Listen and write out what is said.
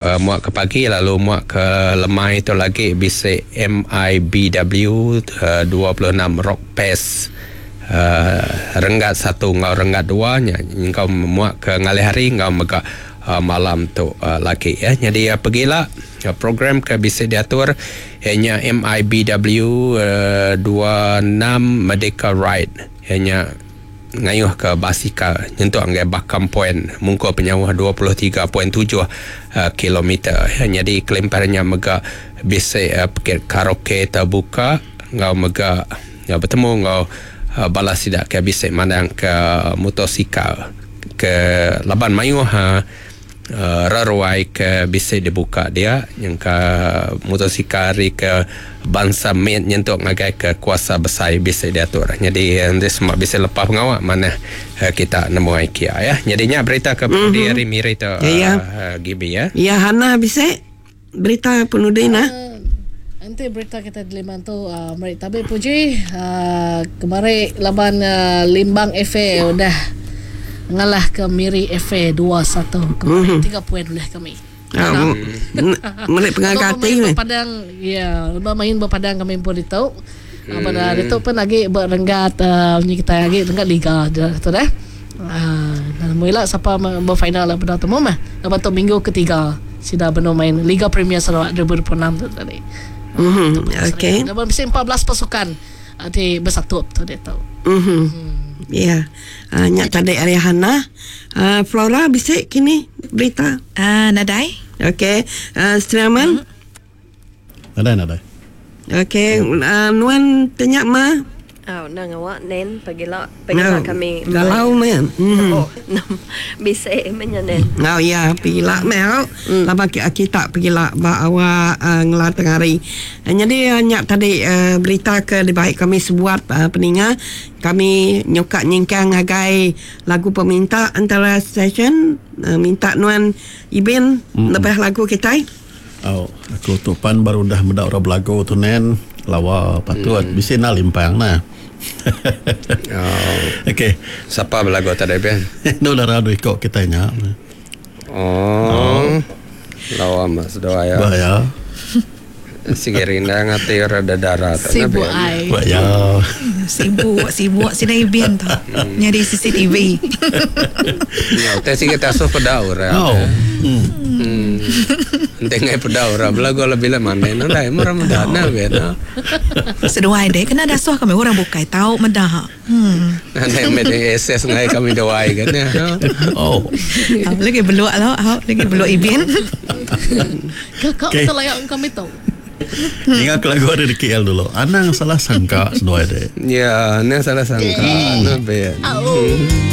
Muak ke pagi lalu muak ke lemai tu lagi bisi MIBW 26 Rock Fest renggat satu enggau renggat dua nya nyengkaum muak ke ngalih hari enggau mega malam tu lagi. Nyadi pegila program ke bisi diatur iya nya MIBW 26 Merdeka Ride iya nya ngayuh ke basikal nyentuk ngagai Bakam Point mungkur penyauh 23.7 kilometer. Nyadi kelimpah nya mega bisi pekit karaoke tebuka enggau mega betemu enggau bala sida ke bisi mandangka motosikal ke laban mayuh Reruai ke bisi dibuka dia nyengka motosikal ari ke bansa mit nyentuk ngagai ke kuasa besai bisi diatur. Nyadi enti sema bisi lepa pengawa manah kita nemu ai kia ya. Nyadi nya berita ke penudi ari Miri tu Gibi ya. Ya Hana bisi berita penudi nah. Enti berita kita diliman tu meri tabi puji kemari laban Limbang FA udah ngalahka Miri FA 2-1 kemari tiga poin ulih kami. Meri pengaga ati meh. Padang ya lebuh main ba padang kami empu ditu. Laban ditu pun agi ba renggat munyi kitai agi renggat liga tu deh. Nemu ila sapa ba final bendar temu meh laban tu minggu ketiga sida benung main Liga Premier Sarawak 2026 tu tadi. Okey. Laban bisi 14 pasukan ti besatup tu ditu. Ya. Nya tadi ari Hannah. Flora bisi kini berita? Nadai. Okey. Striaman? Nadai nadai. Okey, nuan tanya ma. Au nang awak nen pagila pagila kami. Galau meh. Oh bisi meh nya nen. Au ya pagila meh au laban kita pagila ba awak ngelar tengah hari. Nyadi nya tadi berita ke dibai kami sebuat peninga kami nyuka nyingkang ngagai lagu peminta antara session minta nuan Ibin nebah lagu kitai. Au, aku tu pan baru udah meda orang belagu tu nen. Lawa patut bisi enda limpang nah. Okey. Sapa belagu tadi ben? Enda dara dua iko kitai nya. Oh. Lawa mas doa ya. Ba ya. Sigi rindang ati orang dedara tu. Sibuk ai. Ba ya. Sibuk, sibuk sida ibin tu. Nyadi CCTV. Ya, utai sigi tasuh peda orang. Oh. Hmm. Enti ngai peda orang belagu lebih lah mandai nadai meh orang meda nah ben. Seduai dek kena dasuh kami orang bukai tau meda. Hmm. Nadai meh dek access ngai kami duai kan ya. Oh. Lagi beluk lo, lagi beluk ibin. Kakak okay. betul layak kami tu. Ingat ke lagu ada di KL dulu. Anang salah sangka seduai dek. Ya, anang salah sangka. Nah, ben.